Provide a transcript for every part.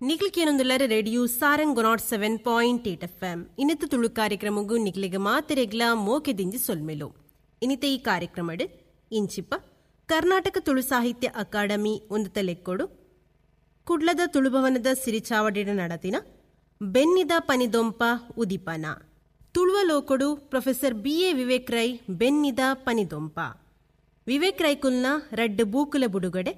ನಿಕ್ಲಿಕೇನೊಂದುಲ್ಲರ radio Sarang 107.8 FM. ಇನ್ನಿತ Tulu ಕಾರ್ಯಕ್ರಮಗೂ ನಿಕ್ಲಿಗೆ ಮಾತೆರೆಗ್ಲ ಮೋಕೆ ದಿಂಜಿ ಸೊಲ್ಮೆಲು. ಇನ್ನಿತ ಈ ಕಾರ್ಯಕ್ರಮಡ್ ಇಂಚಿಪ ಕರ್ನಾಟಕ ತುಳು ಸಾಹಿತ್ಯ ಅಕಾಡೆಮಿ ಒಂದು ತಲೆಕ್ಕೊಡು ಕುಡ್ಲದ ತುಳುಭವನದ ಸಿರಿಚಾವಡಿಡ ನಡತಿನ ಬೆನ್ನಿದ ಪನಿದೊಂಪ ಉದಿಪನ ತುಳುವ ಲೋಕೊಡು ಪ್ರೊಫೆಸರ್ ಬಿ ಎ ವಿವೇಕ್ ರೈ ಬೆನ್ನಿದ ಪನಿದೊಂಪ ವಿವೇಕ್ ರೈಕುಲ್ನ ರಡ್ಡು ಬೂಕುಲ ಬುಡುಗಡೆ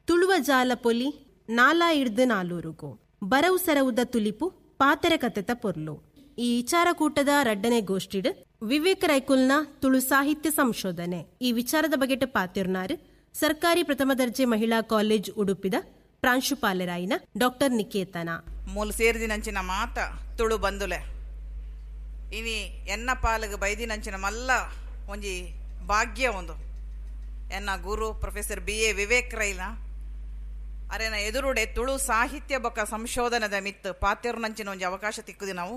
ತುಳುವ ಜಾಲ ಪೊಲಿ ನಾಲಾ ಇಡ್ದು ನಾಲೂರುಗು ಬರವು ಸರವುದ ತುಲಿಪು ಪಾತರ ಕತೆತ ಪೊರ್ಲು. ಈ ವಿಚಾರಕೂಟದ ರಡ್ಡನೆ ಗೋಷ್ಠಿಡ್ ವಿವೇಕ್ ರೈಕುಲ್ನ ತುಳು ಸಾಹಿತ್ಯ ಸಂಶೋಧನೆ ಈ ವಿಚಾರದ ಬಗೆಟ ಪಾತಿರ್ನಾರು ಸರ್ಕಾರಿ ಪ್ರಥಮ ದರ್ಜೆ ಮಹಿಳಾ ಕಾಲೇಜ್ ಉಡುಪಿದ ಪ್ರಾಂಶುಪಾಲರಾಯಿನ ಡಾಕ್ಟರ್ ನಿಕೇತನ. ಮೂಲ ಸೇರಿದಿನಂಚಿನ ಮಾತ ತುಳು ಬಂದುಲೆ ಇನಿ ಎನ್ನ ಪಾಲಗ ಬೈದಿನಂಚಿನ ಮಲ್ಲ ಒಂಜಿ ಭಾಗ್ಯ ಒಂದು ಎನ್ನ ಗುರು ಪ್ರೊಫೆಸರ್ ಬಿ ಎ ವಿವೇಕ್ ರೈಲ ಅರೆನ ಎದುರುಡೆ ತುಳು ಸಾಹಿತ್ಯ ಬೊಕ್ಕ ಸಂಶೋಧನದ ಮಿತ್ತು ಪಾತೆರ್ನಂಚಿನ ಒಂಜಿ ಅವಕಾಶ ತಿಕ್ಕುದಿ ನಾವು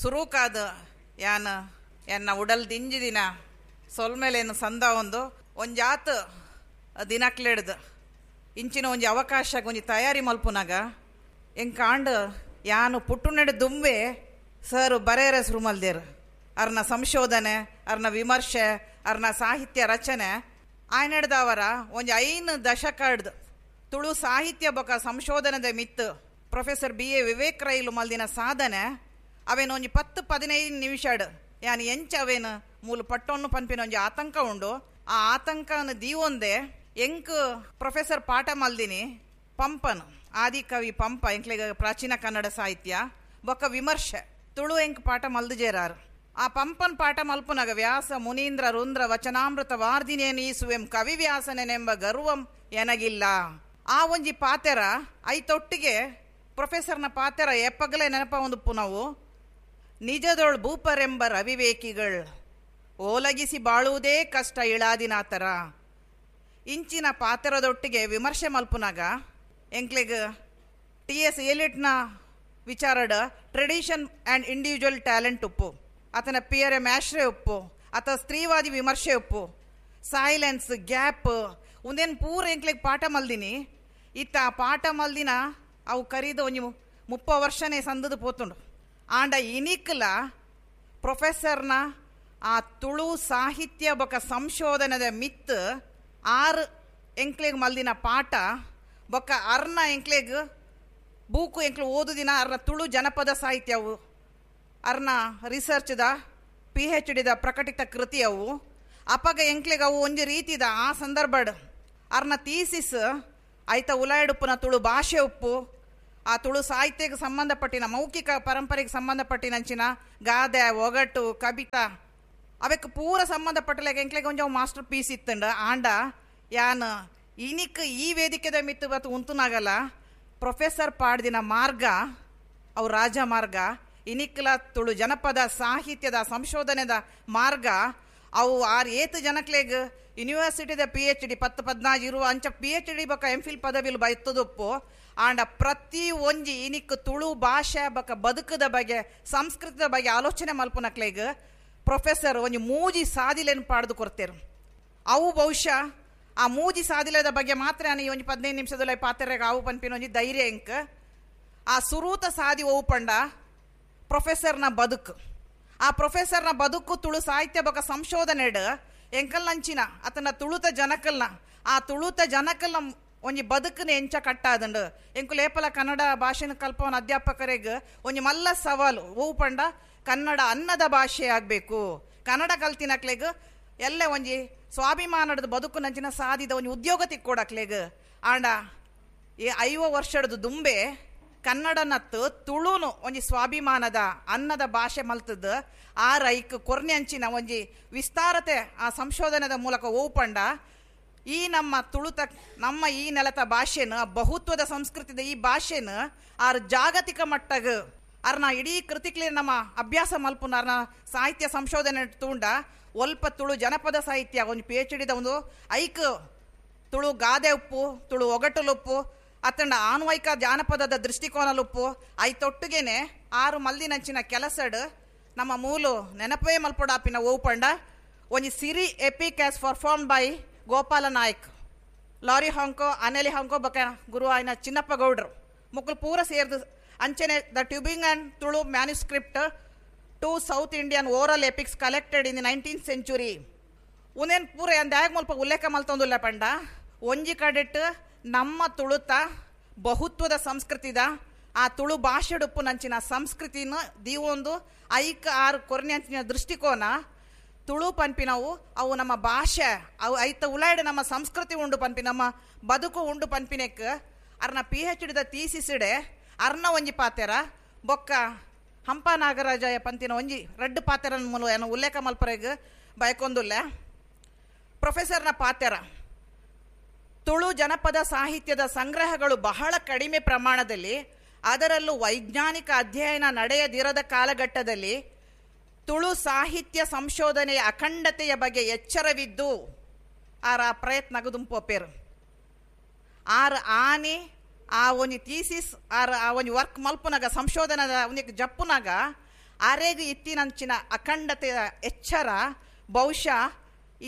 ಸುರೂಕಾದ ಯಾನ ಎನ್ನ ಉಡಲ್ ದಿಂಜಿ ದಿನ ಸೊಲ್ಮೇಲೇನು ಸಂದ ಒಂದು ಒಂಜಾತ ದಿನಕ್ಲೆಡ್ದು ಇಂಚಿನ ಒಂಜಿ ಅವಕಾಶ ಒಂಜಿ ತಯಾರಿ ಮಲ್ಪುನಾಗ ಎಂಕಾಂಡ್ ಯಾನು ಪುಟ್ಟುನೆಡೆ ದುಂಬೆ ಸರ್ ಬರೇರ ಸುರುಮಲ್ದೇರು ಅರ್ನ ಸಂಶೋಧನೆ ಅರ್ನ ವಿಮರ್ಶೆ ಅರ್ನ ಸಾಹಿತ್ಯ ರಚನೆ ಆಯ್ನೆಡ್ದವರ ಒಂಜಿ 5 ದಶಕ ಹಿಡ್ದು ತುಳು ಸಾಹಿತ್ಯ ಬೊಕ್ಕ ಸಂಶೋಧನದ ಮಿತ್ತು ಪ್ರೊಫೆಸರ್ ಬಿ ಎ ವಿವೇಕ್ ರೈಲು ಮಲ್ದಿನ ಸಾಧನೆ ಅವೇನು ಒಂಜಿ 10-15 ನಿಮಿಷಡ್ ಯಾನು ಎಂಚ ಅವೇನು ಮೂಲ ಪಟ್ಟೊನ್ನು ಪನ್ಪಿನ ಒಂಜಿ ಆತಂಕ ಉಂಡು. ಆ ಆತಂಕನ ದೀವೊಂದೆ ಎಂಕ್ ಪ್ರೊಫೆಸರ್ ಪಾಠ ಮಲ್ದಿನಿ ಪಂಪನ್ ಆದಿಕವಿ ಪಂಪ ಎಂಕ್ಲೆಗ ಪ್ರಾಚೀನ ಕನ್ನಡ ಸಾಹಿತ್ಯ ಬೊಕ್ಕ ವಿಮರ್ಶೆ ತುಳು ಎಂಕ್ ಪಾಠ ಮಲ್ದು ಜೇರಾರು. ಆ ಪಂಪನ್ ಪಾಠ ಮಲ್ಪುನಗ ವ್ಯಾಸ ಮುನೀಂದ್ರ ರುಂದ್ರ ವಚನಾಮೃತ ವಾರ್ದಿನೇನೀಸುವೆಂ ಕವಿ ವ್ಯಾಸನೆನೆಂಬ ಗರ್ವಂ ಎನಗಿಲ್ಲ ಆ ಒಂಜಿ ಪಾತೆರ ಐತೊಟ್ಟಿಗೆ ಪ್ರೊಫೆಸರ್ನ ಪಾತೆರ ಎಪ್ಪಗಲೇ ನೆನಪ ಒಂದು ನಾವು ನಿಜದೊಳ್ ಭೂಪರೆಂಬ ರವಿವೇಕಿಗಳ್ ಓಲಗಿಸಿ ಬಾಳುವುದೇ ಕಷ್ಟ ಇಳಾದಿನಾತರ ಇಂಚಿನ ಪಾತೆರದೊಟ್ಟಿಗೆ ವಿಮರ್ಶೆ ಮಲ್ಪುನಾಗ ಎಂಕ್ಲೆಗ್ ಟಿ ಎಸ್ ಎಲಿಟ್ನ ವಿಚಾರಡ್ ಟ್ರೆಡಿಷನ್ ಆ್ಯಂಡ್ ಇಂಡಿವಿಜುವಲ್ ಟ್ಯಾಲೆಂಟ್ ಉಪ್ಪು ಆತನ ಪಿಯರ್ ಎಂ ಆಶ್ರಯ ಉಪ್ಪು ಆತ ಸ್ತ್ರೀವಾದಿ ವಿಮರ್ಶೆ ಉಪ್ಪು ಸೈಲೆನ್ಸ್ ಗ್ಯಾಪ್ ಒಂದೇನು ಪೂರ ಎಂಕ್ಲೆಗ್ ಪಾಠ ಮಲ್ದಿನಿ ಇತ್ತ ಆ ಪಾಠ ಮಲ್ದಿನ ಅವು ಕರೀದು ಒಂಜಿ 30 ವರ್ಷನೇ ಸಂದದು ಪೋತುಂಡು. ಆಂಡ ಇನಿಕ್ಲ ಪ್ರೊಫೆಸರ್ನ ಆ ತುಳು ಸಾಹಿತ್ಯ ಬೊಕ ಸಂಶೋಧನದ ಮಿತ್ತು 6 ಎಂಕ್ಲೆಗ್ ಮಲ್ದಿನ ಪಾಠ ಬೊಕ್ಕ ಅರ್ನ ಎಂಕ್ಲೆಗ್ ಬೂಕು ಎಂಕ್ಲು ಓದುದಿನ ಅರ್ನ ತುಳು ಜನಪದ ಸಾಹಿತ್ಯವು ಅರ್ನ ರಿಸರ್ಚ್ದ PhD the ಪ್ರಕಟಿತ ಕೃತಿಯವು ಅಪಗ ಎಂಕ್ಲೆಗ್ ಅವು ಒಂಜಿ ರೀತಿದ ಆ ಸಂದರ್ಭಡ್ ಅರ್ನ ಥೀಸಿಸ್ ಐತ ಉಲಾಯಡುಪ್ಪುನ ತುಳು ಭಾಷೆ ಉಪ್ಪು ಆ ತುಳು ಸಾಹಿತ್ಯಕ್ಕೆ ಸಂಬಂಧಪಟ್ಟಿನ ಮೌಖಿಕ ಪರಂಪರೆಗೆ ಸಂಬಂಧಪಟ್ಟಿನಂಚಿನ ಗಾದೆ ಒಗಟು ಕವಿತಾ ಅವಕ್ಕೆ ಪೂರ ಸಂಬಂಧಪಟ್ಟಲಾಗ ಎಂಕ್ಲೆಗ್ ಒಂಜಿ ಮಾಸ್ಟರ್ ಪೀಸ್ ಇತ್ತಂಡ. ಆಂಡ ಯಾನ್ ಇನಿಕ್ ಈ ವೇದಿಕೆದ ಮಿತ್ತು ಬತ್ತು ಉಂತುನಾಗಲ್ಲ ಪ್ರೊಫೆಸರ್ ಪಾಡ್ದಿನ ಮಾರ್ಗ ಅವು ರಾಜ ಮಾರ್ಗ ಇನಿಕ್ಲ ತುಳು ಜನಪದ ಸಾಹಿತ್ಯದ ಸಂಶೋಧನೆದ ಮಾರ್ಗ ಅವು 6-8 ಜನಕ್ಲೆಗ್ ಯೂನಿವರ್ಸಿಟಿದ PhD 10-14 ಇರುವ ಅಂಚ PhD ಬೊಕ್ಕ MPhil ಪದವಿಲು ಬೈತದುಪ್ಪು. ಆಂಡ ಪ್ರತಿ ಒಂಜಿ ಇನಿಕ್ ತುಳು ಭಾಷೆ ಬೊಕ್ಕ ಬದುಕದ ಬಗ್ಗೆ ಸಂಸ್ಕೃತದ ಬಗ್ಗೆ ಆಲೋಚನೆ ಮಲ್ಪುನಕ್ಲೆಗ್ ಪ್ರೊಫೆಸರ್ ಒಂಜಿ ಮೂಜಿ ಸಾದಿಲೇನು ಪಾಡ್ದು ಕೊಡ್ತೇರು. ಅವು ಬಹುಶಃ ಆ ಮೂಜಿ ಸಾದಿಲದ ಬಗ್ಗೆ ಮಾತ್ರ ನಾನು ಈ ಒಂಜಿ 15 ನಿಮಿಷದಲ್ಲಿ ಪಾತೆರೆಗ್ ಆವು ಪನ್ಪಿನ ಒಂಜಿ ಧೈರ್ಯ ಎಂಕ್. ಆ ಸುರೂತ ಸಾದಿ ಓವು ಪಂಡ ಪ್ರೊಫೆಸರ್ನ ಬದುಕು ಆ ಪ್ರೊಫೆಸರ್ನ ಬದುಕು ತುಳು ಸಾಹಿತ್ಯ ಬೊಕ್ಕ ಸಂಶೋಧನೆಡ್ ಎಂಕಲ್ನಂಚಿನ ಆತನ ತುಳುತ ಜನಕಲ್ನ ಆ ತುಳುತ ಜನಕಲ್ನ ಒಂಜಿ ಬದುಕನ ಎಂಚ ಕಟ್ಟಾದಂಡು ಎಂಕುಲು ಏಪಲ ಕನ್ನಡ ಭಾಷೆನ ಕಲ್ಪವನ ಅಧ್ಯಾಪಕರಿಗೆ ಒಂಜಿ ಮಲ್ಲ ಸವಾಲು ಓವು ಪಂಡ ಕನ್ನಡ ಅನ್ನದ ಭಾಷೆ ಆಗಬೇಕು ಕನ್ನಡ ಕಲ್ತಿನಕ್ಲೆಗ್ ಎಲ್ಲ ಒಂಜಿ ಸ್ವಾಭಿಮಾನದ ಬದುಕುನಂಚಿನ ಸಾಧಿದ ಒಂಜಿ ಉದ್ಯೋಗ ತಿಕ್ಕೊಡಕ್ಲೆಗ್. ಆಂಡ ಈ 50 ವರ್ಷದ ದುಂಬೆ ಕನ್ನಡನತ್ತು ತುಳುನು ಒಂಜಿ ಸ್ವಾಭಿಮಾನದ ಅನ್ನದ ಭಾಷೆ ಮಲ್ತದ್ದು ಆ ರೈಕ್ ಕೊರ್ನೆ ಅಂಚಿನ ಒಂಜಿ ವಿಸ್ತಾರತೆ ಆ ಸಂಶೋಧನೆದ ಮೂಲಕ ಓಪಂಡ ಈ ನಮ್ಮ ತುಳುತ ನಮ್ಮ ಈ ನೆಲತ ಭಾಷೆನ ಬಹುತ್ವದ ಸಂಸ್ಕೃತಿದ ಈ ಭಾಷೆನ ಆರ್ ಜಾಗತಿಕ ಮಟ್ಟಗ ಅರ್ನ ಇಡೀ ಕೃತಿಕ್ಲಿ ನಮ್ಮ ಅಭ್ಯಾಸ ಮಲ್ಪುನ ಅರ್ನ ಸಾಹಿತ್ಯ ಸಂಶೋಧನೆ ತೂಂಡ ಒಲ್ಪ ತುಳು ಜನಪದ ಸಾಹಿತ್ಯ ಒಂದು PhD the ಒಂದು ಐಕ್ ತುಳು ಗಾದೆ ಉಪ್ಪು ತುಳು ಒಗಟುಲುಪ್ಪು ಅತಂಡ ಆನ್ವಯಿಕ ಜಾನಪದದ ದೃಷ್ಟಿಕೋನಲುಪ್ಪು ಐತೊಟ್ಟುಗೇನೆ 6 ಮಲ್ದಿನಂಚಿನ ಕೆಲಸಡ್ ನಮ್ಮ ಮೂಲು ನೆನಪೇ ಮಲ್ಪೊಡಾಪಿನ ಓಪಂಡ ಒಂಜಿ ಸಿರಿ epic as perform by Gopala Nayak lorry ಹಾಂಕೋ ಅನೆಲಿ ಹಾಂಕೋ ಬಕ ಗುರು ಆಯ್ನ ಚಿನ್ನಪ್ಪ ಗೌಡ್ರು ಮೊಕ್ಕಲು ಪೂರ ಸೇರ್ದು ಅಂಚನೆ the Tübingen Tulu manuscript two South Indian oral epics collected in the 19th century. ಉನೇನು ಪೂರ ಅಂದಾಗ ಮುಲ್ಪ ಉಲ್ಲೇಖ ಮಲ್ತೊಂದುಲ್ಲ ಪಂಡ ಒಂಜಿ ಕಡೆಟ್ ನಮ್ಮ ತುಳುತ ಬಹುತ್ವದ ಸಂಸ್ಕೃತಿದ ಆ ತುಳು ಭಾಷೆಡುಪ್ಪು ನಂಚಿನ ಸಂಸ್ಕೃತಿನ ದೀವೊಂದು ಐಕ್ ಆರು ಕೊರನೆ ಅಂಚಿನ ದೃಷ್ಟಿಕೋನ ತುಳು ಪನ್ಪಿನವು ಅವು ನಮ್ಮ ಭಾಷೆ ಅವು ಐತ ಉಲಾಯ್ಡ್ ನಮ್ಮ ಸಂಸ್ಕೃತಿ ಉಂಡು ಪನ್ಪಿ ನಮ್ಮ ಬದುಕು ಉಂಡು ಪನ್ಪಿನೆಕ್ ಅರ್ನ PhD ತೀಸಿಸಿಡೆ ಅರ್ನ ಒಂಜಿ ಪಾತೆರ ಬೊಕ್ಕ ಹಂಪ ನಾಗರಾಜಯ ಪಂತಿನ ಒಂಜಿ ರಡ್ಡು ಪಾತೆರನ ಮೂಲ ಏನು ಉಲ್ಲೇಖ ಮಲ್ಪರೆಗ್ ಬಯಕೊಂದುಲ್ಲ. ಪ್ರೊಫೆಸರ್ನ ಪಾತೆರ ತುಳು ಜನಪದ ಸಾಹಿತ್ಯದ ಸಂಗ್ರಹಗಳು ಬಹಳ ಕಡಿಮೆ ಪ್ರಮಾಣದಲ್ಲಿ, ಅದರಲ್ಲೂ ವೈಜ್ಞಾನಿಕ ಅಧ್ಯಯನ ನಡೆಯದಿರದ ಕಾಲಘಟ್ಟದಲ್ಲಿ ತುಳು ಸಾಹಿತ್ಯ ಸಂಶೋಧನೆಯ ಅಖಂಡತೆಯ ಬಗ್ಗೆ ಎಚ್ಚರವಿದ್ದು ಆರ ಪ್ರಯತ್ನ ದುಂಪೋಪೇರು. ಆರ್ ಆನೆ ಆ ಒಂಜಿ ಥೀಸಿಸ್ ಆರ್ ಆ ಒಂಜಿ ವರ್ಕ್ ಮಲ್ಪುನಾಗ ಸಂಶೋಧನದ ಒಂಜಿ ಜಪ್ಪುನಾಗ ಆರೇಗ ಇತ್ತಿನಂಚಿನ ಅಖಂಡತೆಯ ಎಚ್ಚರ ಬಹುಶಃ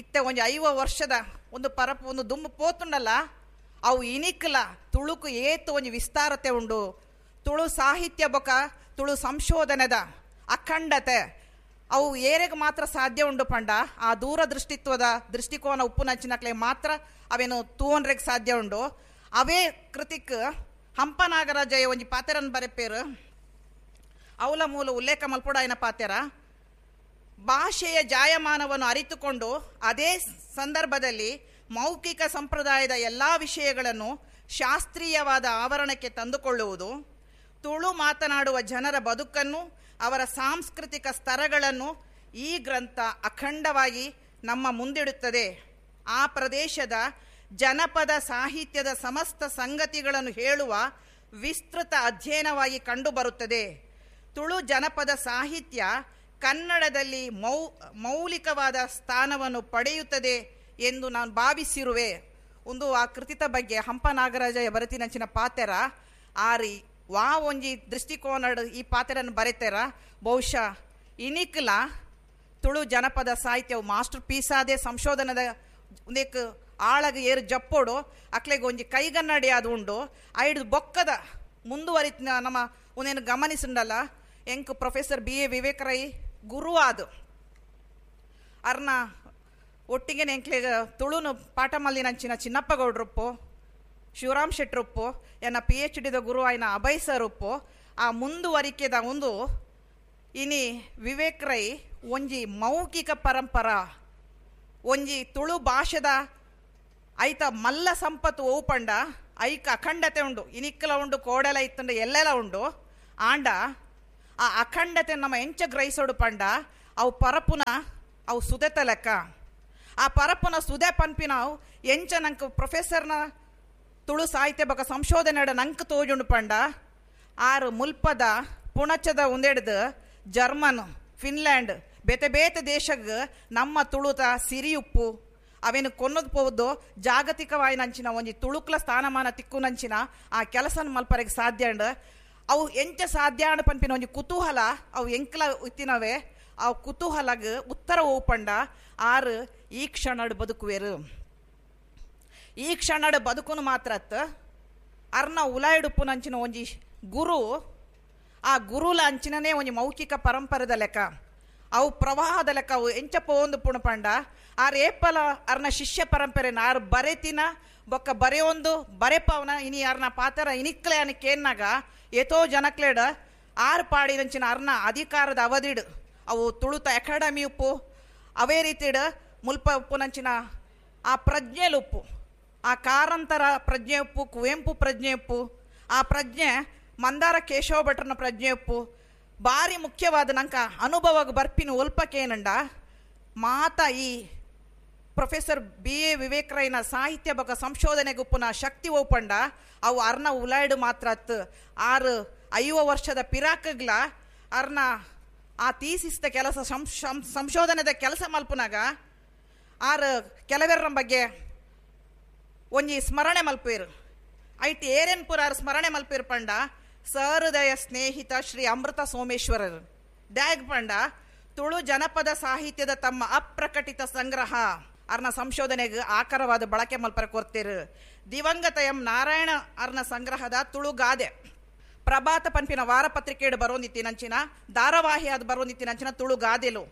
ಇತ್ತೆ ಒಂಜಿ 50 ವರ್ಷದ ಒಂದು ಪರಪು ಒಂದು ದುಂಬು ಪೋತುಂಡಲ್ಲ ಅವು ಇನಿಕ್ಲ ತುಳುಕು ಏತು ಒಂಜಿ ವಿಸ್ತಾರತೆ ಉಂಡು. ತುಳು ಸಾಹಿತ್ಯ ಬೊಕ ತುಳು ಸಂಶೋಧನೆದ ಅಖಂಡತೆ ಅವು ಏರೆಗೆ ಮಾತ್ರ ಸಾಧ್ಯ ಉಂಡು ಪಂಡ ಆ ದೂರದೃಷ್ಟಿತ್ವದ ದೃಷ್ಟಿಕೋನ ಉಪ್ಪುನಂಚಿನಕ್ಲೆ ಮಾತ್ರ ಅವೇನು ತೂವನ್ರೆಗೆ ಸಾಧ್ಯ ಉಂಡು. ಅವೇ ಕೃತಿಕ್ ಹಂಪ ನಾಗರಾಜಯ ಒಂಜಿ ಪಾತೆರನ್ ಬರೆಪೇರು ಅವಲ ಮೂಲ ಉಲ್ಲೇಖ ಮಲ್ಪುಡಾಯನ ಪಾತೆರ ಭಾಷೆಯ ಜಾಯಮಾನವನ್ನು ಅರಿತುಕೊಂಡು ಅದೇ ಸಂದರ್ಭದಲ್ಲಿ ಮೌಖಿಕ ಸಂಪ್ರದಾಯದ ಎಲ್ಲ ವಿಷಯಗಳನ್ನು ಶಾಸ್ತ್ರೀಯವಾದ ಆವರಣಕ್ಕೆ ತಂದುಕೊಳ್ಳುವುದು, ತುಳು ಮಾತನಾಡುವ ಜನರ ಬದುಕನ್ನು ಅವರ ಸಾಂಸ್ಕೃತಿಕ ಸ್ತರಗಳನ್ನು ಈ ಗ್ರಂಥ ಅಖಂಡವಾಗಿ ನಮ್ಮ ಮುಂದಿಡುತ್ತದೆ. ಆ ಪ್ರದೇಶದ ಜನಪದ ಸಾಹಿತ್ಯದ ಸಮಸ್ತ ಸಂಗತಿಗಳನ್ನು ಹೇಳುವ ವಿಸ್ತೃತ ಅಧ್ಯಯನವಾಗಿ ಕಂಡುಬರುತ್ತದೆ. ತುಳು ಜನಪದ ಸಾಹಿತ್ಯ ಕನ್ನಡದಲ್ಲಿ ಮೌಲಿಕವಾದ ಸ್ಥಾನವನ್ನು ಪಡೆಯುತ್ತದೆ ಎಂದು ನಾನು ಭಾವಿಸಿರುವೆ. ಒಂದು ಆ ಕೃತಿತ ಬಗ್ಗೆ ಹಂಪ ನಾಗರಾಜ ಬರತಿನಂಚಿನ ಪಾತೆರ ಆರಿ ವಾ ಒಂಜಿ ದೃಷ್ಟಿಕೋನ ಈ ಪಾತೆರನ್ನು ಬರೆತಾರ. ಬಹುಶಃ ಇನಿಕ್ಲ ತುಳು ಜನಪದ ಸಾಹಿತ್ಯವು ಮಾಸ್ಟರ್ ಪೀಸಾದೆ ಸಂಶೋಧನದ ಒಂದೇಕ್ ಆಳಗ ಏರು ಜಪ್ಪೋಡು ಅಕ್ಲೆಗೆ ಒಂಜಿ ಕೈಗನ್ನಡಿ ಅದು ಉಂಡು ಐಡು ಬೊಕ್ಕದ ಮುಂದುವರಿತ ನಮ್ಮ ಒಂದೇನು ಗಮನಿಸುಂಡಲ್ಲ. ಎಂಕ್ ಪ್ರೊಫೆಸರ್ B.A. Vivek Rai ಗುರು ಆದು ಅರ್ನ ಒಟ್ಟಿಗೆ ಎಂಕ್ಲೆಗ ತುಳುನು ಪಾಠ ಮಲ್ಲಿನಂಚಿನ ಚಿನ್ನಪ್ಪ ಗೌಡ್ರಪ್ಪು, ಶಿವರಾಮ್ ಶೆಟ್ರಪ್ಪು, ಎನ್ನ PhD ಗುರು ಆಯ್ನ ಅಭಯ್ ಸರ್ ಉಪ್ಪು ಆ ಮುಂದುವರಿಕೆದ ಒಂದು ಇನಿ ವಿವೇಕ್ ರೈ ಒಂಜಿ ಮೌಖಿಕ ಪರಂಪರಾ ಒಂಜಿ ತುಳು ಭಾಷೆದ ಐತ ಮಲ್ಲ ಸಂಪತ್ತು ಓಪಂಡ ಐಕ ಅಖಂಡತೆ ಉಂಡು ಇನಿಕ್ಕಲ ಉಂಡು ಕೋಡಲ ಇತ್ತಂಡ ಎಲ್ಲೆಲ್ಲ ಉಂಡು ಆಂಡ ಆ ಅಖಂಡತೆ ನಮ್ಮ ಎಂಚ ಗ್ರಹಿಸೋಡು ಪಂಡ ಅವು ಪರಪುನ ಅವು ಸುದೆತ ಲೆಕ್ಕ ಆ ಪರಪುನ ಸುದೆ ಪನ್ಪಿನವು ಎಂಚ ನಂಗೆ ಪ್ರೊಫೆಸರ್ನ ತುಳು ಸಾಹಿತ್ಯ ಬೊಕ ಸಂಶೋಧನೆ ನಂಗೆ ತೋಜುಂಡು ಪಂಡ ಆರು ಮುಲ್ಪದ ಪುಣಚದ ಒಂದೆಡ್ದು ಜರ್ಮನ್ ಫಿನ್ಲ್ಯಾಂಡ್ ಬೇತೆ ಬೇತೆ ದೇಶಗ್ ನಮ್ಮ ತುಳುತ ಸಿರಿಯುಪ್ಪು ಅವೇನು ಕೊನ್ನದು ಪೋದು ಜಾಗತಿಕವಾಯಿನಂಚಿನ ಒಂಜಿ ತುಳುಕ್ಲ ಸ್ಥಾನಮಾನ ತಿಕ್ಕುನಂಚಿನ ಆ ಕೆಲಸನ ಮಲ್ಪರೆಗೆ ಸಾಧ್ಯ ಅಂಡ್ ಅವು ಎಂಚ ಸಾಧ್ಯ ಅಂಡ್ ಪನ್ಪಿನ ಒಂಜಿ ಕುತೂಹಲ ಅವು ಎಂಕ್ಲ ಇತ್ತಿನವೇ ಆ ಕುತೂಹಲಗ್ ಉತ್ತರ ಓಪಂಡ ಆರು ಈ ಕ್ಷಣಡ್ ಬದುಕುವೇರು ಈ ಕ್ಷಣಡ್ ಬದುಕುನು ಮಾತ್ರ ಅತ್ತ ಅರ್ನ ಉಲಾಯಿಡುಪ್ಪುನಂಚಿನ ಒಂಜಿ ಗುರು ಆ ಗುರುಲ ಅಂಚಿನನೇ ಒಂಜಿ ಮೌಖಿಕ ಪರಂಪರೆದ ಲೆಕ್ಕ ಅವು ಪ್ರವಾಹದ ಲೆಕ್ಕ ಅವು ಎಂಚ ಪೋಂದು ಪುಣಪಂಡ ಆರ್ ಏಪಲ ಅರ್ನ ಶಿಷ್ಯ ಪರಂಪರೆ ಆರು ಬರೆತಿನ ಬೊಕ್ಕ ಬರೆಯೊಂದು ಬರೆಪವನ ಇನಿ ಅರ್ನ ಪಾತರ ಇನಿಕ್ಲೆ ಅನ ಕೇನ್ನಾಗ ಏತೋ ಜನಕ್ಲೇಡ ಆರು ಪಾಡಿನಂಚಿನ ಅರ್ನ ಅಧಿಕಾರದ ಅವಧಿಡು ಅವು ತುಳುತ ಅಕಾಡೆಮಿ ಉಪ್ಪು ಅವೇ ರೀತಿಡ್ ಮುಲ್ಪ ಉಪ್ಪುನಂಚಿನ ಆ ಪ್ರಜ್ಞೆಲುಪ್ಪು ಆ ಕಾರಂತರ ಪ್ರಜ್ಞೆ ಉಪ್ಪು ಕುವೆಂಪು ಪ್ರಜ್ಞೆ ಉಪ್ಪು ಆ ಪ್ರಜ್ಞೆ ಮಂದಾರ ಕೇಶವ ಭಟ್ರನ ಪ್ರಜ್ಞೆ ಉಪ್ಪು ಭಾರಿ ಮುಖ್ಯವಾದ ನಂಕ ಅನುಭವ ಬರ್ಪಿನ ಒಲ್ಪಕ್ಕೇನಂಡ ಮಾತ ಈ ಪ್ರೊಫೆಸರ್ B.A. Vivek ರೈನ ಸಾಹಿತ್ಯ ಬೊಕ ಸಂಶೋಧನೆಗುಪ್ಪುನ ಶಕ್ತಿ ಓಪಂಡ ಅವು ಅರ್ನ ಉಲಾಯ್ಡು ಮಾತ್ರ ಅತ್ತು ಆರು 50 ವರ್ಷದ ಪಿರಾಕಗ್ಲ ಅರ್ನ ಆ ತೀಸಿಸ್ದ ಕೆಲಸ ಸಂಶೋಧನೆದ ಕೆಲಸ ಮಲ್ಪುನಾಗ ಆರು ಕೆಲವೆರ್ರ ಬಗ್ಗೆ ಒಂಜಿ ಸ್ಮರಣೆ ಮಲ್ಪೇರು ಐಟ್ ಏರೇನ್ಪುರ ಆರು ಸ್ಮರಣೆ ಮಲ್ಪೇರು ಪಂಡ ಸಹೃದಯ ಸ್ನೇಹಿತ ಶ್ರೀ ಅಮೃತ ಸೋಮೇಶ್ವರರು ಡ್ಯಾಗ್ ಪಂಡ ತುಳು ಜನಪದ ಸಾಹಿತ್ಯದ ತಮ್ಮ ಅಪ್ರಕಟಿತ ಸಂಗ್ರಹ ಅರ್ನ ಸಂಶೋಧನೆಗೆ ಆಕರವಾದ ಬಳಕೆ ಮಲ್ಪರ ಕೊರ್ತಿರು ದಿವಂಗತ ಎಂ ನಾರಾಯಣ ಅರ್ನ ಸಂಗ್ರಹದ ತುಳು ಗಾದೆ ಪ್ರಭಾತ ಪನ್ಪಿನ ವಾರಪತ್ರಿಕೆಡು ಬರೋಂದಿತ್ತಿನಂಚಿನ ಧಾರಾವಾಹಿ ಅದು ಬರೋಂದಿತ್ತಿನಂಚಿನ Tulu ಗಾದೆಲು,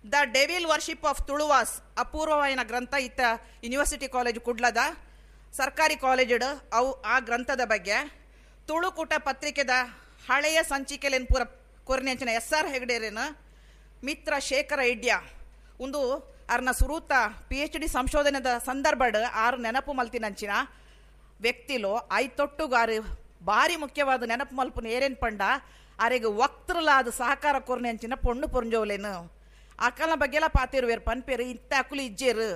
the devil worship of Tuluvas ಅಪೂರ್ವವಾಯಿನ ಗ್ರಂಥ ಇತ್ತ ಯೂನಿವರ್ಸಿಟಿ ಕಾಲೇಜ್ ಕುಡ್ಲದ ಸರ್ಕಾರಿ ಕಾಲೇಜಿಡು ಅವು ಆ ಗ್ರಂಥದ ಬಗ್ಗೆ, ತುಳುಕೂಟ ಪತ್ರಿಕೆದ ಹಳೆಯ ಸಂಚಿಕೆಲೇನು ಪೂರ ಕೊರ್ನೆಂಚಿನ ಎಸ್ ಆರ್ ಹೆಗ್ಡೇರೇನು, ಮಿತ್ರ ಶೇಖರ ಇಡ್ಯ ಒಂದು ಅರ್ನ ಸುರೂತ PhD ಸಂಶೋಧನೆದ ಸಂದರ್ಭಡ್ ಆರು ನೆನಪು ಮಲ್ತಿನಂಚಿನ ವ್ಯಕ್ತಿಲು ಐತೊಟ್ಟುಗಾರು ಭಾರಿ ಮುಖ್ಯವಾದ ನೆನಪು ಮಲ್ಪುನ ಏರೇನು ಪಂಡ ಅರೆಗೆ ವಕ್ತೃಲಾದ ಸಹಕಾರ ಕೊರ್ನೆಂಚಿನ ಪೊಣ್ಣು ಪೊಂಜೋಲೇನು ಅಕಲ್ನ ಬಗ್ಗೆಲ್ಲ ಪಾತಿರುವೇರು ಪನ್ಪೇರು ಇಂಥ ಅಕುಲು ಇಜ್ಜೇರು.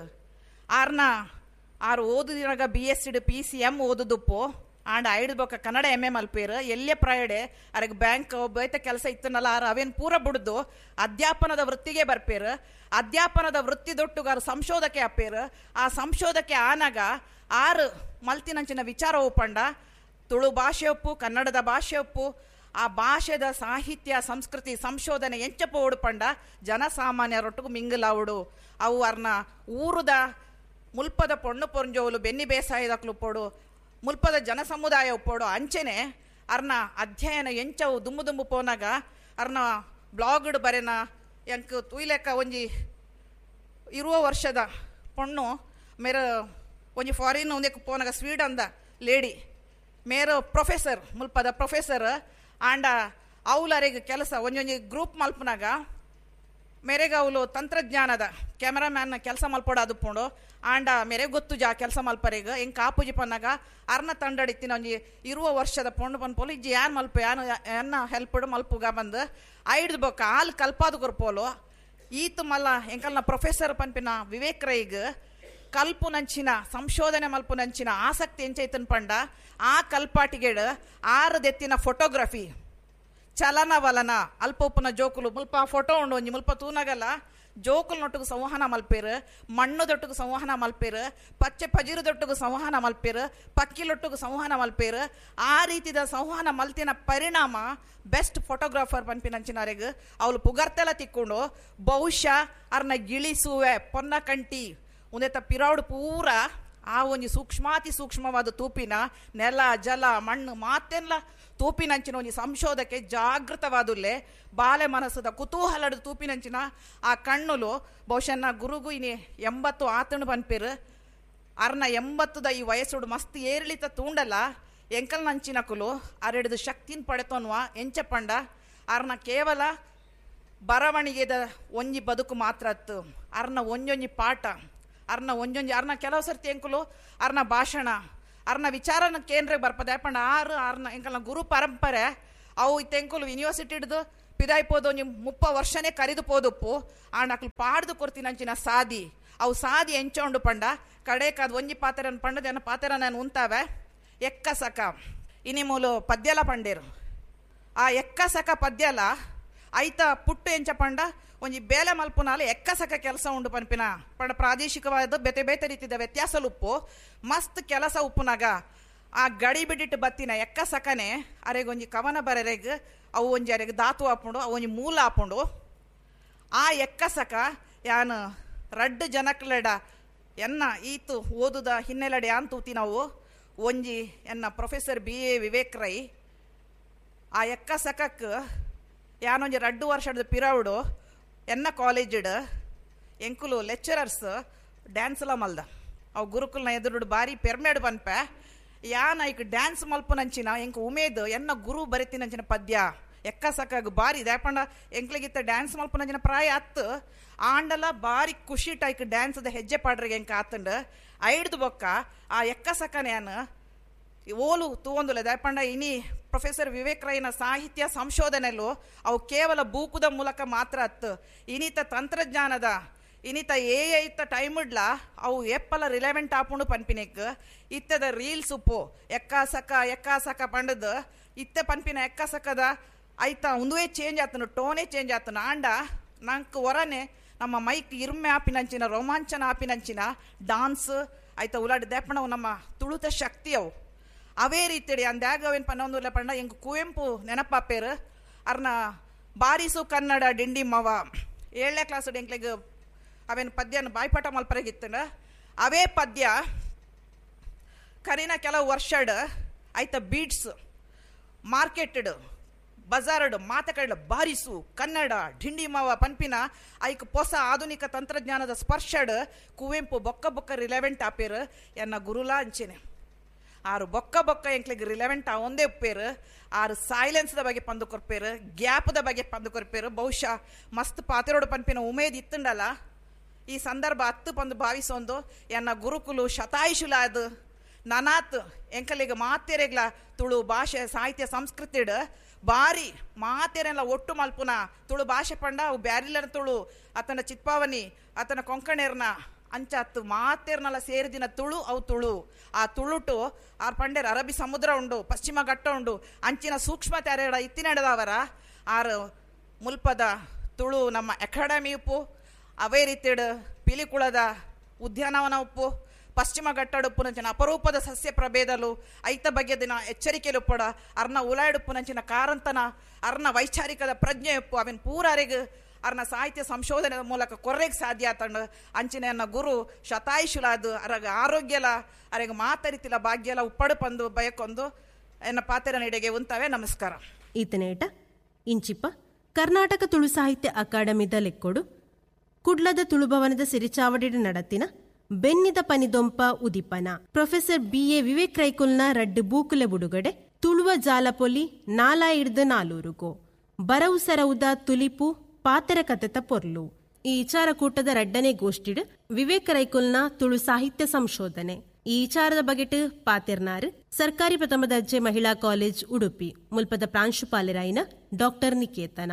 ಆರ್ನ ಆರು ಓದುದಿನಾಗ BSc PCM ಓದುದುಪ್ಪು and ಐಡು ಬೊಕ್ಕ ಕನ್ನಡ MA ಮಲ್ಪೇರು ಎಲ್ಲೇ ಪ್ರೈಡೆ ಅರೆಗೆ ಬ್ಯಾಂಕ್ ಬೈತ ಕೆಲಸ ಇತ್ತನಲ್ಲ ಆರು ಅವೇನು ಪೂರ ಬಿಡ್ದು ಅಧ್ಯಾಪನದ ವೃತ್ತಿಗೆ ಬರ್ಪೇರು. ಅಧ್ಯಾಪನದ ವೃತ್ತಿ ದೊಟ್ಟುಗಾರು ಸಂಶೋಧಕೆ ಅಪ್ಪೇರು. ಆ ಸಂಶೋಧಕೆ ಆನಾಗ ಆರು ಮಲ್ತಿನಂಚಿನ ವಿಚಾರ ಒಪ್ಪಂಡ ತುಳು ಭಾಷೆ ಒಪ್ಪು, ಕನ್ನಡದ ಭಾಷೆ ಒಪ್ಪು, ಆ ಭಾಷೆದ ಸಾಹಿತ್ಯ ಸಂಸ್ಕೃತಿ ಸಂಶೋಧನೆ ಎಂಚಪ್ಪ ಓಡುಪಂಡ ಜನಸಾಮಾನ್ಯರೊಟ್ಟಿಗೂ ಮಿಂಗಲಾವುಡು. ಅವು ಅರ್ನ ಊರುದ ಮುಲ್ಪದ ಪೊಣ್ಣು ಪೊಂಜೋಲು ಬೆನ್ನಿ ಬೇಸಾಯದಕ್ಲು ಪೋಡು, ಮುಲ್ಪದ ಜನಸಮುದಾಯ ಒಪ್ಪೋಡು. ಅಂಚೆನೆ ಅರ್ನ ಅಧ್ಯಯನ ಎಂಚವು ದುಂಬು ದುಂಬು ಪೋನಾಗ ಅರ್ನ ಬ್ಲಾಗ್ಡ್ ಬರೆನ ಎಂಕ್ ತೂಯ್ಲೆಕ್ಕ ಒಂಜಿ ಇರುವ ವರ್ಷದ ಪೊಣ್ಣು ಮೇರ ಒಂಜಿ ಫಾರಿನ್ ಒಂದಕ್ಕೆ ಪೋನಾಗ ಸ್ವೀಡನ್ದ ಲೇಡಿ ಮೇರ ಪ್ರೊಫೆಸರ್ ಮುಲ್ಪದ ಪ್ರೊಫೆಸರ್ ಆಂಡ ಅವಲರಿಗೆ ಕೆಲಸ ಒಂಜೊಂಜಿ ಗ್ರೂಪ್ ಮಲ್ಪನಾಗ ಮೇರೆಗೆ ಅವಳು ತಂತ್ರಜ್ಞಾನದ ಕ್ಯಾಮ್ರಾಮ್ಯಾನ್ ಕೆಲಸ ಮಲ್ಪೋಡು ಅದು ಪೋಂಡು ಆಂಡ ಮೇರೆ ಗೊತ್ತು ಜಾ ಕೆಲಸ ಮಲ್ಪರೆಗ ಹೆಂಗೆ ಕಾಪುಜಿ ಪನ್ನಾಗ ಅರ್ನ ತಂಡಡಿತ್ತಿನ ಒಂಜಿ ಇರುವ ವರ್ಷದ ಪೊಂಡು ಪನ್ಪೋಲು ಇಜ್ಜಿ ಯಾನ್ ಮಲ್ಪ ಯಾನ್ ಎನ್ನ ಹೆಲ್ಪಡು ಮಲ್ಪುಗ ಬಂದು ಐಡ್ದು ಬೊಕ್ಕ ಹಾಲು ಕಲ್ಪಾದು ಕೊರ್ಪೋಲು ಈತು ಮಲ್ಲ ಎಂಕಲ್ನ ಪ್ರೊಫೆಸರ್ ಪನ್ಪಿನ ವಿವೇಕ್ ರೈಗ್ ಕಲ್ಪು ನಂಚಿನ ಸಂಶೋಧನೆ ಮಲ್ಪು ನಂಚಿನ ಆಸಕ್ತಿ ಎಂಚೈತನ್ ಪಂಡ ಆ ಕಲ್ಪಾಟಿಗೆಡು ಆರದೆತ್ತಿನ ಫೋಟೋಗ್ರಫಿ ಚಲನವಲನ ಅಲ್ಪ ಉಪ್ಪುನ ಜೋಕುಲು ಮುಲ್ಪ ಫೋಟೋ ಉಂಡು ಒಂಜಿ ಮುಲ್ಪ ತೂನಗಲ್ಲ ಜೋಕುಲ್ನೊಟ್ಟಿಗೆ ಸಂವಹನ ಮಲ್ಪೇರು, ಮಣ್ಣುದೊಟ್ಟಿಗೆ ಸಂವಹನ ಮಲ್ಪೇರು, ಪಚ್ಚೆ ಪಜಿರುದೊಟ್ಟಿಗೆ ಸಂವಹನ ಮಲ್ಪೇರು, ಪಕ್ಕಿಲೊಟ್ಟಿಗೆ ಸಂವಹನ ಮಲ್ಪೇರು. ಆ ರೀತಿದ ಸಂವಹನ ಮಲ್ತಿನ ಪರಿಣಾಮ ಬೆಸ್ಟ್ ಫೋಟೋಗ್ರಾಫರ್ ಪನ್ಪಿನಂಚಿನರೆಗ್ ಅವಳು ಪುಗರ್ತೆಲ್ಲ ತಿಕ್ಕೊಂಡು ಬಹುಶಃ ಅರ್ನ ಗಿಳಿಸುವೆ ಪೊನ್ನ ಕಂಟಿ ಒಂದೇತ ಪಿರೌಡ್ ಪೂರ ಆ ಒಂಜಿ ಸೂಕ್ಷ್ಮಾತಿ ಸೂಕ್ಷ್ಮವಾದ ತೂಪಿನ ನೆಲ ಜಲ ಮಣ್ಣು ಮಾತೆಲ್ಲ ತೂಪಿನಂಚಿನ ಒಂಜಿ ಸಂಶೋಧಕ್ಕೆ ಜಾಗೃತವಾದುಲ್ಲೆ ಬಾಲೆ ಮನಸ್ಸದ ಕುತೂಹಲದ ತೂಪಿನಂಚಿನ ಆ ಕಣ್ಣುಲು ಬಹುಶಃ ಗುರುಗು ಇನಿ 80 ಆತಣು ಪನ್ಪೇರು ಅರ್ನ 80 ಈ ವಯಸ್ಸುಡು ಮಸ್ತ್ ಏರಿಳಿತ ತೂಂಡಲ್ಲ ಎಂಕಲ್ ನಂಚಿನ ಕುಲು ಅರೆಡ್ದು ಶಕ್ತಿನ ಪಡೆತೋನ್ವ ಎಂಚ ಪಂಡ ಅರ್ನ ಕೇವಲ ಬರವಣಿಗೆದ ಒಂಜಿ ಬದುಕು ಮಾತ್ರ ಅತ್ತು ಅರ್ನ ಒಂಜೊಂಜಿ ಪಾಠ ಅರ್ನ ಒಂಜೊಂಜಿ ಅರ್ನ ಕೆಲವು ಸರ್ತಿ ಎಂಕುಲು ಅರ್ನ ಭಾಷಣ ಅರ್ನ ವಿಚಾರನ ಕೇಂದ್ರ ಬರ್ಪದೆ ಯಾಪಂಡ ಆರು ಅರ್ನ ಎಂಕಲ್ನ ಗುರು ಪರಂಪರೆ ಅವು ಇತ್ತೆಂಕುಲು ಯೂನಿವರ್ಸಿಟಿ ಹಿಡ್ದು ಪಿದಾಯ್ಪೋದು ಒಂಜಿ 30 ವರ್ಷನೇ ಕರಿದು ಪೋದುಪ್ಪು ಆಂಡ ಅಕ್ಲು ಪಾಡ್ದು ಕೊರ್ತಿನಂಚಿನ ಸಾದಿ ಅವು ಸಾದಿ ಎಂಚೋಂಡು ಪಂಡ ಕಡೇಕಾದ ಒಂಜಿ ಪಾತೆರನ್ ಪಂಡದ ಎನ್ನ ಪಾತೆರ ನಾನು ಉಂತಾವೆ ಎಕ್ಕಸಕ ಇನಿ ಮೂಲು ಪದ್ಯಲ ಪಂಡೇರು ಆ ಎಕ್ಕಸಕ ಪದ್ಯಲ ಐತ ಪುಟ್ಟು ಎಂಚ ಪಂಡ ಒಂಜಿ ಬೇಲೆ ಮಲ್ಪುನಾಲ ಎಕ್ಕಸಕ ಕೆಲಸ ಉಂಡು ಪನ್ಪಿನ ಪಂಡ ಪ್ರಾದೇಶಿಕವಾದ ಬೇತೆ ಬೇತೆ ರೀತಿದ ವ್ಯತ್ಯಾಸ ಉಪ್ಪು ಮಸ್ತ್ ಕೆಲಸ ಉಪ್ಪುನಾಗ ಆ ಗಡಿ ಬಿಡಿಟ್ಟು ಬತ್ತಿನ ಎಕ್ಕಸಕನೆ ಅರೆಗೊಂಜಿ ಕವನ ಬರೆರೆಗ್ ಅವು ಒಂಜಿ ಅರೆಗ್ ಧಾತು ಆಪುಂಡು ಅವು ಒಂಜಿ ಮೂಲ ಆಪುಂಡು. ಆ ಎಕ್ಕಸಕ ಯಾನು ರಡ್ಡು ಜನಕ್ಲೆಡ ಎನ್ನ ಈತು ಓದುದ ಹಿನ್ನೆಲೆಡೆ ಯಾನ್ ತೂತಿ ನಾವು ಒಂಜಿ ಎನ್ನ ಪ್ರೊಫೆಸರ್ BA Vivek Rai ಆ ಎಕ್ಕಸಕಕ್ಕೆ ಯಾನೊಂಜಿ 2 ವರ್ಷದ ಪಿರೌಡು ಎನ್ನ ಕಾಲೇಜಿಡ್ ಎಂಕುಲು ಲೆಕ್ಚರರ್ಸ್ ಡ್ಯಾನ್ಸ್ಲ ಮಲ್ದ ಅವು ಗುರುಕುಲ್ನ ಎದುರುಡು ಭಾರಿ ಪೆರ್ಮೆಡು ಪನ್ಪೆ ಯಾನ್ ಐಕ್ ಡ್ಯಾನ್ಸ್ ಮಲ್ಪುನಂಚಿನ ಎಂಕ್ ಉಮೇದ್ ಎನ್ನ ಗುರು ಬರಿತಿನಂಚಿನ ಪದ್ಯ ಎಕ್ಕಸಕ್ಕಾಗ ಭಾರಿ ದಾಪಂಡ ಎಂಕ್ಲಿಗಿತ್ತ ಡ್ಯಾನ್ಸ್ ಮಲ್ಪುನಂಚಿನ ಪ್ರಾಯ ಅತ್ತು ಆಂಡಲ ಭಾರಿ ಖುಷಿ ಟೈಕ್ ಡ್ಯಾನ್ಸ್ದ ಹೆಜ್ಜೆ ಪಾಡ್ರಿಗೆ ಎಂಕ ಆತಂಡ ಐಡ್ದು ಬೊಕ್ಕ ಆ ಎಕ್ಕಸಕ್ಕನ ಯಾನ್ ಓಲು ತೂವೊಂದುಲ್ಲ ದಾಪಂಡ ಇನಿ ಪ್ರೊಫೆಸರ್ ವಿವೇಕ್ ರೈನ ಸಾಹಿತ್ಯ ಸಂಶೋಧನೆಲು ಅವು ಕೇವಲ ಬೂಕುದ ಮೂಲಕ ಮಾತ್ರ ಅತ್ತು ಇನಿತ ತಂತ್ರಜ್ಞಾನದ ಇನಿತ ಏ ಐತ ಟೈಮ್ ಇಡ್ಲ ಅವು ಎಪ್ಪಲ ರಿಲೆವೆಂಟ್ ಆಪುಂಡು ಪನ್ಪಿನೆಕ್ ಇತ್ತದ ರೀಲ್ಸ್ ಉಪ್ಪು ಎಕ್ಕಾಸಕ ಎಕ್ಕಾಸಕ ಪಂಡದು ಇತ್ತ ಪನ್ಪಿನ ಎಕ್ಕಾಸಕದ ಐತ ಒಂದುವೇ ಚೇಂಜ್ ಆತನು ಟೋನೇ ಚೇಂಜ್ ಆತನು ಆಂಡ ನಂಗೆ ಹೊರನೆ ನಮ್ಮ ಮೈಕ್ ಇರ್ಮೆ ಆಪಿನಂಚಿನ ರೋಮಾಂಚನ ಆಪಿನಂಚಿನ ಡಾನ್ಸ್ ಆಯ್ತ ಉಲಾಡಿ ದೇಪಣವು ನಮ್ಮ ತುಳುತ ಶಕ್ತಿ ಅವು ಅವೇ ರೀತಿಡಿ ಅಂದ್ಯಾಗ ಅವೇನು ಪನ್ನೊಂದುಲ್ಲ ಪಂಡ ಎಂಗ್ ಕುವೆಂಪು ನೆನಪಾಪೇರು ಅರ್ನ ಬಾರಿಸು ಕನ್ನಡ ಡಿಂಡಿ ಮವ 7ನೇ ಕ್ಲಾಸ್ ಎಂಕ್ಲೆಗ್ ಅವೇನು ಪದ್ಯನ ಬಾಯ್ಪಾಠ ಮಲ್ಪರೆಗಿತ್ತನ ಅವೇ ಪದ್ಯ ಕರಿನ ಕೆಲವು ವರ್ಷಡ್ ಆಯ್ತ ಬೀಡ್ಸ್ ಮಾರ್ಕೆಟ್ಡ್ ಬಜಾರ್ಡ್ ಮಾತಕಡೆ ಬಾರಿಸು ಕನ್ನಡ ಢಿಂಡಿಮಾವ ಪನ್ಪಿನ ಐಕ್ ಹೊಸ ಆಧುನಿಕ ತಂತ್ರಜ್ಞಾನದ ಸ್ಪರ್ಶಡ್ ಕುವೆಂಪು ಬೊಕ್ಕ ಬೊಕ್ಕ ರಿಲೆವೆಂಟ್ ಆಪೇರು. ಎನ್ನ ಗುರುಲಾ ಅಂಚೆನೆ ಆರು ಬೊಕ್ಕ ಬೊಕ್ಕ ಎಂಕ್ಲೆಗ್ ರಿಲೆವೆಂಟ್ ಒಂದೇ ಉಪ್ಪೇರು. ಆರು ಸೈಲೆನ್ಸ್ದ ಬಗ್ಗೆ ಪಂದು ಕೊರ್ಪೇರು, ಗ್ಯಾಪ್ದ ಬಗ್ಗೆ ಪಂದು ಕೊರ್ಪೇರು. ಬಹುಶಃ ಮಸ್ತ್ ಪಾತೆರೋಡು ಪನ್ಪಿನ ಉಮೇದ್ ಇತ್ತುಂಡಲ್ಲ ಈ ಸಂದರ್ಭ ಹತ್ತು ಪಂದು ಭಾವಿಸೊಂದು ಎನ್ನ ಗುರುಕುಲು ಶತಾಯುಷುಲಾದ ನನಾತ್ ಎಂಕಲಿಗೆ ಮಾತೆರೆಗ್ಲ ತುಳು ಭಾಷೆ ಸಾಹಿತ್ಯ ಸಂಸ್ಕೃತಿಡ್ ಬಾರಿ ಮಾತೆರೆಲ್ಲ ಒಟ್ಟು ಮಲ್ಪುನ ತುಳು ಭಾಷೆ ಪಂಡ ಅವು ಬ್ಯಾರಿಲನ ತುಳು, ಆತನ ಚಿತ್ಪಾವನಿ, ಆತನ ಕೊಂಕಣೇರ್ನ ಅಂಚಾತ್ತು ಮಾತೇರ್ನಲ್ಲ ಸೇರಿದಿನ ತುಳು ಅವು ತುಳು. ಆ ತುಳುಟು ಆರ್ ಪಂಡೇರ್ ಅರಬ್ಬಿ ಸಮುದ್ರ ಉಂಡು, ಪಶ್ಚಿಮ ಘಟ್ಟ ಉಂಡು, ಅಂಚಿನ ಸೂಕ್ಷ್ಮ ತೆರೆಡ ಇತ್ತಿನಡದವರ ಆರು ಮುಲ್ಪದ ತುಳು ನಮ್ಮ ಅಕಾಡೆಮಿ ಉಪ್ಪು, ಅವೇ ರೀತಿಡ್ ಪಿಲಿಕುಳದ ಉದ್ಯಾನವನ ಉಪ್ಪು, ಪಶ್ಚಿಮ ಘಟ್ಟಡುಪ್ಪುನಂಚಿನ ಅಪರೂಪದ ಸಸ್ಯ ಪ್ರಭೇದಲು ಐತ ಬಗ್ಗೆ ದಿನ ಎಚ್ಚರಿಕೆಲುಪ್ಪಡ ಅರ್ನ ಉಲಾಯಿಡುಪ್ಪುನಂಚಿನ ಕಾರಂತನ ಅರ್ನ ವೈಚಾರಿಕದ ಪ್ರಜ್ಞೆ ಉಪ್ಪು ಅವಿನ ಪೂರಾರಿಗ್ ಅರ್ನ ಸಾಹಿತ್ಯ ಸಂಶೋಧನೆ ಮೂಲಕ ಕೊರ್ರೆಗ್ ಸಾಧ್ಯ ಆತಂಡು. ಅಂಚಿನ ಗುರು ಶತಾಯುಷುಲಾದು ಅರಗ ಆರೋಗ್ಯಲ ಅರೆಗ ಮಾತರಿತಿಲ ಭಾಗ್ಯಲ ಉಪ್ಪಡು ಪಂದು ಬಯಕೊಂದು ಎನ್ನ ಪಾತೆರ ನಡೆಗೆ ಉಂತವೆ. ನಮಸ್ಕಾರ. ಈತನೇಟ ಇಂಚಿಪ ಕರ್ನಾಟಕ ತುಳು ಸಾಹಿತ್ಯ ಅಕಾಡೆಮಿದ ಲೆಕ್ಕೊಡು ಕುಡ್ಲದ ತುಳುಭವನದ ಸಿರಿಚಾವಡಿಡ ನಡತಿನ ಬೆನ್ನಿದ ಪನಿದೊಂಪ ಉದಿಪನ ಪ್ರೊಫೆಸರ್ ಬಿ.ಎ. ವಿವೇಕ್ ರೈಕುಲ್ನ ರಡ್ಡು ಬೂಕುಲೆ ಬುಡುಗಡೆ, ತುಳುವ ಜಾಲಪೊಲಿ ನಾಲಾಯಿಡ್ದು ನಾಲೂರುಗೋ ಬರವು ಸರವುದ ತುಲಿಪು ಪಾತೆರ ಕತೆತ ಪೊರ್ಲು. ಈ ವಿಚಾರಕೂಟದ ರಡ್ಡನೇ ಗೋಷ್ಠಿಡ್ ವಿವೇಕ್ ರೈಕುಲ್ನ ತುಳು ಸಾಹಿತ್ಯ ಸಂಶೋಧನೆ ಈ ವಿಚಾರದ ಬಗೆಟ್ ಪಾತೆರ್ನಾರು ಸರ್ಕಾರಿ ಪ್ರಥಮ ದರ್ಜೆ ಮಹಿಳಾ ಕಾಲೇಜ್ ಉಡುಪಿ ಮುಲ್ಪದ ಪ್ರಾಂಶುಪಾಲರಾಯಿನ ಡಾಕ್ಟರ್ ನಿಕೇತನ.